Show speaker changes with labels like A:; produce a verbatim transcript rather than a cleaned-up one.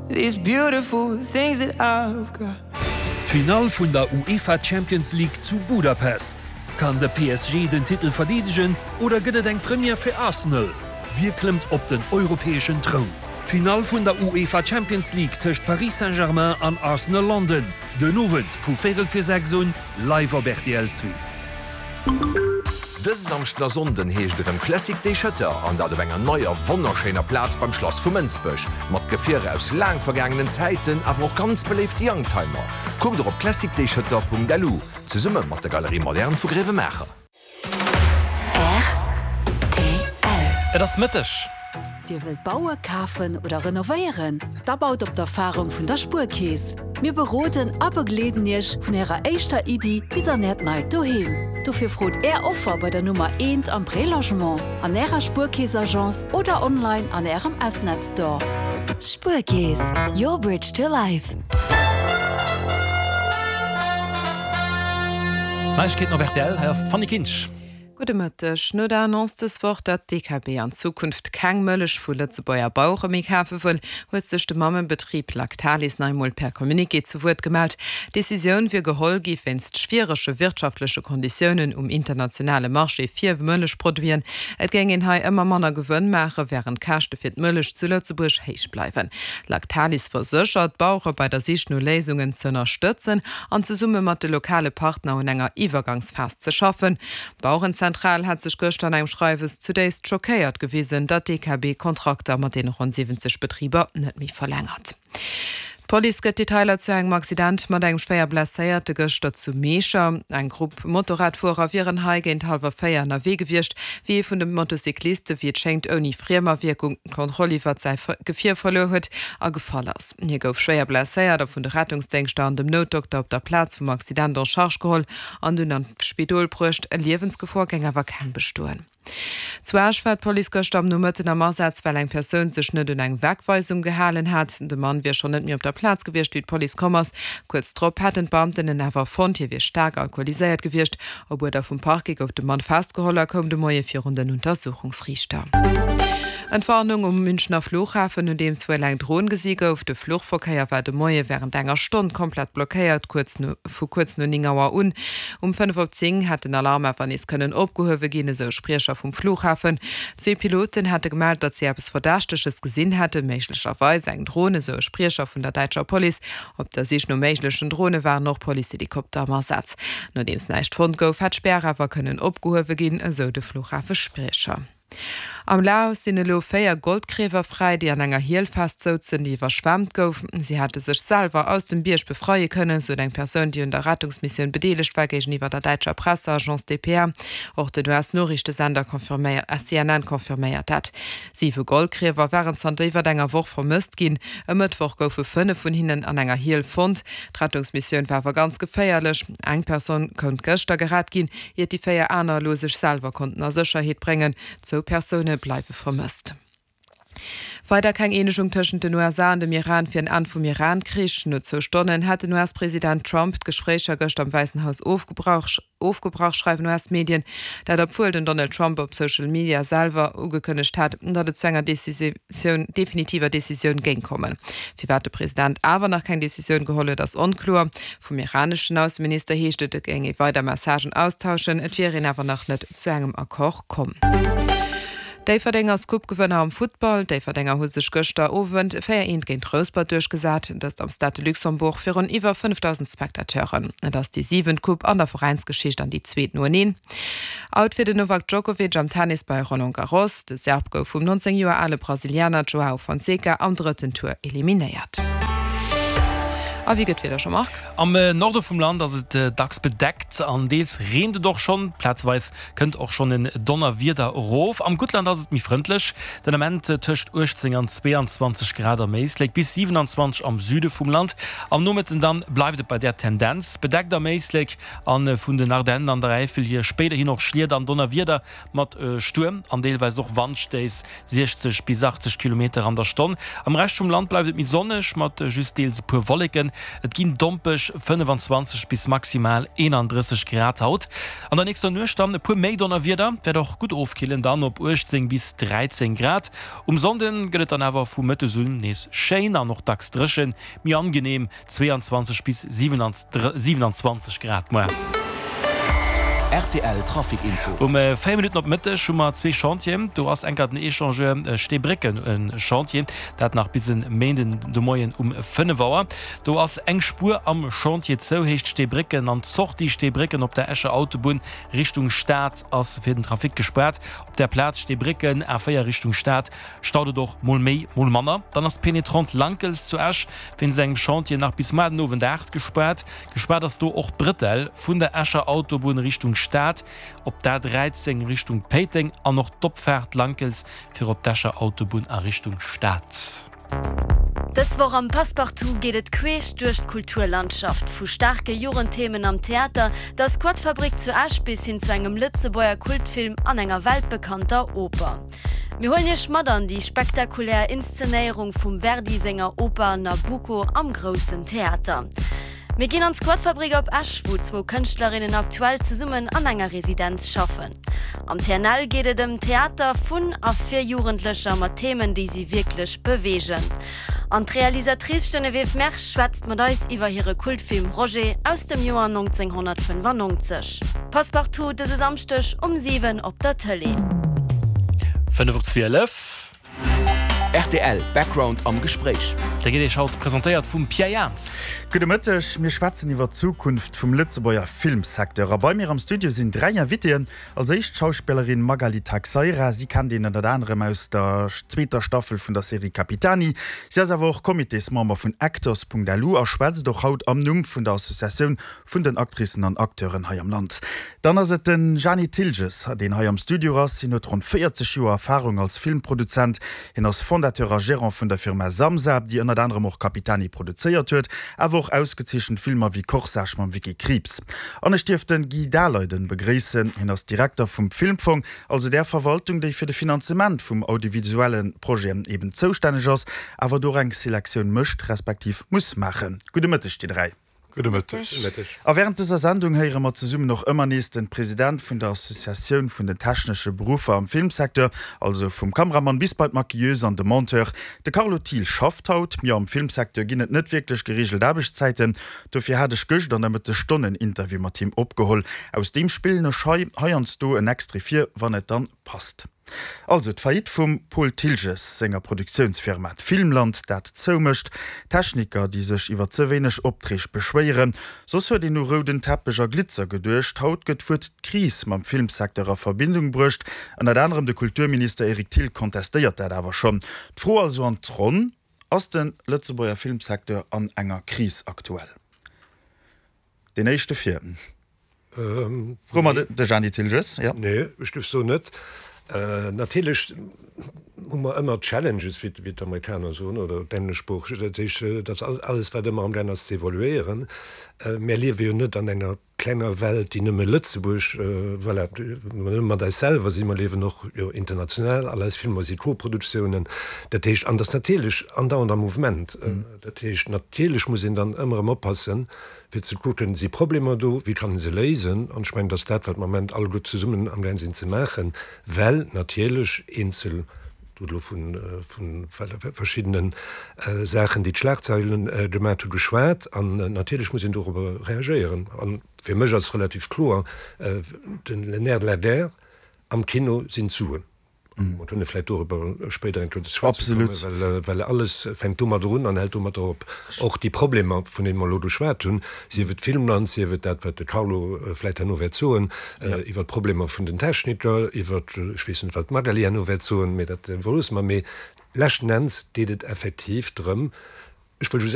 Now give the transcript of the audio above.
A: These beautiful things that I've got.
B: D'Finall vun der UEFA Champions League zu Budapest. Kann de P S G den Titel verdeedegen oder gëtt et eng Première fir Arsenal? Wie klëmmt op den europäeschen Troun? D'Finall vun der UEFA Champions League tëscht Paris Saint-Germain an Arsenal London. Den Owend vu véierel fir sechs un, live op R T L zwee.
C: Dëse Samschden a Sonnden heescht et erëm Classic Day Schëtter an dat op enger neier wonnerschéiner Plaz beim Schlass vu Mënsbech. Mat Gefierer aus laang vergaangenen Zäiten, awer och ganz beléifte Youngtimer. Kuckt och op classicdayschëtter Punkt L U zesumme mat der Galerie Moderne vu Gréiwemaacher.
D: Et ass Mëtteg.
E: Dir wëllt baue, kafen oder renovéieren? Da baut op d'Erfarung vun der Spuerkeess. Mir beroden a begleeden Iech vun Ärer éischter Iddi bis an Äert neit Doheem. Dofir frot Är Offer bei der Nummer eent am Prélogement, an Ärer Spuerkeess-Agence oder online an Ärem S-Net Store.
F: Spuerkeess, your bridge to life.
D: Neiegkeeten op R T L, hei ass d'Fanny Kinsch.
G: Gudde Mëtteg. No der Annonce dës Woch, datt d'D K B an Zukunft keng Mëllech vu Lëtzebuerger Bauere méi kafe wëll, huet sech de Mammebetrib Lactalis nach eemol per Communiqué zu Wuert gemellt. D'Decisioun wier geholl gi wéinst schwierege wirtschaftleche Konditiounen um internationale Marché fir Mëllechproduiten. Et géing een hei ëmmer manner Gewënn maachen, wärend d'Käschte fir d'Mëllech zu Lëtzebuerg héich bleiwen. Lactalis verséchert, d'Bauere bei der Sich no Léisungen ze ënnerstëtzen an zesumme mat de lokale Partner un enger Iwwergangsphas ze schaffen. D'Bauerenzentral hat sech gëschter an engem Schreiwes zudéifst schockéiert gewisen, datt d'D K B Kontrakter mat den ronn siwwenzeg Betriber net méi verlängert. D'Police gëtt Detailer zu engem Accident mat engem schwéier Blesséierte gëschter zu Miecher. Eng Grupp Motorradfuerer wieren hei géint hallwer véier ënnerwee gewiescht, wéi ee vun de Motocycliste wéi et schéngt ouni Friemawierkung d'Kontroll iwwer säi Gefier verluer huet a gefall ass. Hie gouf schwéier blesséiert a vun de Rettungsdéngschter an dem Noutdokter op der Plaz vum Accident en charge geholl an dunn an d'Spidol bruecht. Liewensgefor géing awer keng bestoen. Zu Esch war d'Police gëschter am Nomëtten am Asaz, well eng Persoun sech net un eng Wegweisung gehalen hat. De Mann wier schonn net méi op der Plaz gewiescht, wéi d'Police komm ass. Kuerz drop hätten d'Beamten en awer fonnt, hie wier staark alkoholiséiert gewiescht. Op Uerder vum Parquet gouf de Mann festgeholl a koum de Moie virun den Untersuchungsriichter. Entwarnung um Münchner Flughafen, nodeems wuel eng Dron gesi gouf. De Fluchverkéier war de Moie wärend enger Stonn komplett blockéiert, kuerz no, vu kuerz no néng Auer un. Um fënnef op zéng hätt den Alarm awer nees kënnen opgehuewe ginn, esou Spriecher vum Flughafen. Zwee Piloten hätte gemellt, datt si eppes Verdächteges gesinn hätten, méiglecherweis eng Dron, esou e Spriecher vun der däitscher Police. Op der Sich no méiglechen Drone waren och Policehelikopter am Asaz. Nodeems näischt fonnt gouf, hätt d'Spär awer kënnen opgehuewe ginn, esou de Flughafespriecher. Am Laos sinn elo véier Goldgriewer fräi, déi an enger Hiel festsouzen, déi iwwerschwemmt gouf. Si hätte sech selwer aus dem Bierg befreie kënnen, sou eng Persoun, déi un der Rettungsmissioun bedeelegt war, géigeniwwer der däitscher Presseagence D P A. Och den U S-Noriichtesender confirméiert C N N confirméiert dat. Siwe Goldgriewer waren zanter iwwer enger Woch vermësst ginn. E Mëttwoch goufe fënnef vun hinnen an enger Hiel fonnt. D'Rettungsmissioun war awer ganz geféierlech. Eng Persoun konnt gëschter gerett ginn, ier déi véier aner elo sech selwer konnten a Sécherheet bréngen. Zwou Persoune bleiwe vermësst. Weider keng Eenegung tëschent den U S A an dem Iran fir en Enn vum Iran-Krich. No zwou Stonnen hat den U S-President Trump d'Gespréicher gëschter am Wäissen Haus ofgebrach, ofgebrach, schreiwen U S-Medien. Dat obwuel den Donald Trump op Social Media selwer ugekënnegt hat, datt et zu enger Decisioun, definitiver Decisioun géing kommen. Firwat de President awer nach keng Decisioun geholl huet, ass onkloer. Vum iraneschen Ausseminister heescht et, et géing ee weider Messagen austauschen, et wier een awer nach net zu engem Accord komm. Déifferdeng ass Coupe-Gewënner am Futtball. D'Déifferdenger hu sech gëschter Owend véier eent géint Rouspert duerchgesat, dëst am Stade de Luxembourg virun iwwer fënnefdausend Spectateuren. Et ass déi siwent Coupe an der Veräinsgeschicht an déi zweet noeneen. Out fir den Novak Djokovic am Tennis bei Roland Garros. De Serb gouf vum nonzéng Joer ale Brasilianer Joao Fonseca am drëtten Tour eliminéiert. A wéi gëtt d'Wieder, Jean-Marc?
D: Am Norde vum Land ass et dacks bedeckt an deels reent et och schonn. Plazweis kënnt och schonn en Donnerwieder erof. Am Guttland ass et méi frëndlech, den Ament tëscht uechtzéng an zweeanzwanzeg Grad am Éislek, bis siewenanzwanzeg am Süde vum Land. Am Nomëtten dann bleift et bei där Tendenz, bedeckt am Éislek a vun den Ardennen an der Äifel hier spéiderhin och Schlieder an Donnerwieder mat Stuerm an deelweis och Wandstéiss, siechzeg bis achtzeg Kilometer an der Stonn. Am Rescht vum Land bleift et méi sonneg mat just deels e puer Wolleken. Et ginn dompeg fënnefenzwanzeg bis maximal eenandrësseg Grad haut. An der nächster Nuecht dann e puer méi Donnerwieder, wäert och gutt ofkillen, dann op uechtzéng bis dräizéng Grad. Um Sonnde gëtt et dann awer vu mëttes un nees schéin an och dacks dréchen, méi angeneem zweeanzwanzeg bis siewenanzwanzeg Grad muer.
H: Rtl Trafic Info.
D: Um véier Minutten op Mëtteg hu mer zwee Chantieren. Do ass enker den Echangeur Steebrécken en Chantier, dat nach bis e Méinden de Moien um fënnef Auer. Do ass eng Spuer am Chantier zou, heescht Steebrécken an d'Sortie Steebrécken op der Escher Autobunn Richtung Stad ass fir den Trafic gespaart. Op der Plaz Steebrécken, A véier Richtung Stad, staut et och mol méi, mol manner. Dann ass d'Pénétrante Lankels zu Esch wéinst engem Chantier nach bis muer den Owend aacht gespaart. Gespaart ass do och d'Brëttel vun der Escher Autobunn Richtung Stad op d'A dräizéng Richtung Péiteng an och d'Opfaart Lankels fir op d'Escher Autobunn a Richtung Stad.
I: Dës Woch am Passepartout geet et queesch duerch d'Kulturlandschaft. Vu staarke Jugendthemen am Theater, der Squatfabrik zu Esch bis hin zu engem Lëtzebuerger Kultfilm an enger weltbekannter Oper. Mir huelen iech mat an déi spektakulär Inszenéierung vum Verdi senger Oper Nabucco am Groussen Theater. Mir ginn an d'Squatfabrik op Esch, wou zwou Kënschtlerinnen aktuell zesummen an enger Residenz schaffen. Am T N L geet et ëm Theater vun a fir Jugendlecher mat Themen, déi si wierklech beweegen. An d'Realisatrice Geneviève Mersch schwätzt mat eis iwwer hire Kultfilm Roger aus dem Joer nonzénghonnertfënnefannonzeg. Passepartout dëse Samschdeg um siwen op der Tëlee.
D: Fënnef op zwielef.
H: Rtl Background am Gespréich.
D: Dee gëtt Iech haut presentéiert vum Pierre Jans.
J: Gudde Mëtteg, mir schwätzen iwwer d'Zukunft vum Lëtzebuerger Filmsecteur. A bei mir am Studio sinn dräi Invitéen. Als éischt d'Schauspillerin Magali Taxeira. Si kennt een ënnert anerem aus der zweeter Staffel vun der Serie Capitani. Si ass awer och Comitésmember vun Actors Punkt L U a schwätzt och haut am Numm vun der Associatioun vun den Actricen an Acteuren hei am Land. Dann ass et den Jani Thiltges, deen hei am Studio ass. Hien huet ronn véierzeg Joer Erfarung als Filmproduzent. Hien ass Fondateur a Gerant vun der Firma Samsa, déi ënnert anerem och Capitani produzéiert huet, awer och ausgezeechent Filmer wéi Corsage mam Vicky Krieps. An ech dierf den Guy Daleiden begréissen. Hien ass Direkter vum Filmfong, also där Verwaltung, déi fir de Finanzement vum audiovisuelle Projeten eben zoustänneg ass, awer do och eng Selektioun mécht, respektiv muss maachen. Gudde Mëtteg dir dräi.
K: Gudde Mëtteg.
J: A während dëser Sendung héiere mer zesummen och ëmmer nees den President vun der Associatioun vun den technesche Beruffer am Filmsecteur, also vum Kameramann bis bei d'Maquilleuse an de Monteur. De Carlo Thiel schafft haut. Jo, am Filmsecteur ginn et net wierklech gereegelt Aarbechtszäiten. Dofir hat ech gëscht an der Mëttesstonn en Interview mat him opgeholl. Aus deem spillen ech hei heiansdo en Extrait vir, wann et dann passt. Also d'Faillite vum Paul Thiltges senger Produktiounsfirma Filmland, dat zoumécht, Techniker, déi sech iwwer ze wéineg Opträg beschwéieren. Soss huet een u rouden Teppech a Glitzer geduecht. Haut gëtt d'Wuert Kris mam Filmsecteur a Verbindung bruecht. Ënnert anerem de Kulturminister Eric Thill kontestéiert dat awer schonn. D'Fro also an d'Ronn, Ass de Lëtzebuerger Filmsecteur an enger Kris aktuell? Deen éischte fir. Froe mer de Jani Thiltges, jo.
K: Nee, ech géif soen net. Natierlech hu mer ëmmer Challenges, wéi d'Amerikaner soen, oder d'Engleschsproocheg, dat heescht, dat ass alles, wat ëmmer amgaang ass ze evoluéieren. Mir liewe jo net an enger klenger Welt, déi nëmme Lëtzebuerg, voilà, nëmme mat eis selwer sinn, mer liewen och jo international, all eis Filmer si Koproduktiounen, dat heescht, an dat ass natierlech andauernd am Mouvement. Dat heescht, natierlech muss een dann ëmmer erëm oppassen, fir ze kucken, si Problemer do, wéi kann ee se léisen? An ech mengen, dat ass dat, wat mer am Moment alleguer zesummen amgaang sinn ze maachen, well natierlech eenzel, du huet elo vu verschiddene Saachen, déi d'Schlagzeilen gemaat hu geschwat, an natierlech muss een dorobber reagéieren. A fir mech ass relativ kloer, den le nerf de la guerre am Kino sinn d'Suen. Mer kënne vläicht dorobber spéider eng Kéier ze schwätze kommen, well alles fänkt domadder un an hält domadder op. Och déi Problemer, vun deene mer elo geschwat hunn, sief et d'Filmland, sief et dat, wat de Carlo vläicht herno wäert soen iwwert d'Problemer vun den Techniker, iwwert, ech weess net, wat d'Magali herno wäert soen, mee dat iwwerloosse mer. Mee leschten Enns geet et effektiv drëm, ech wëll just eppes,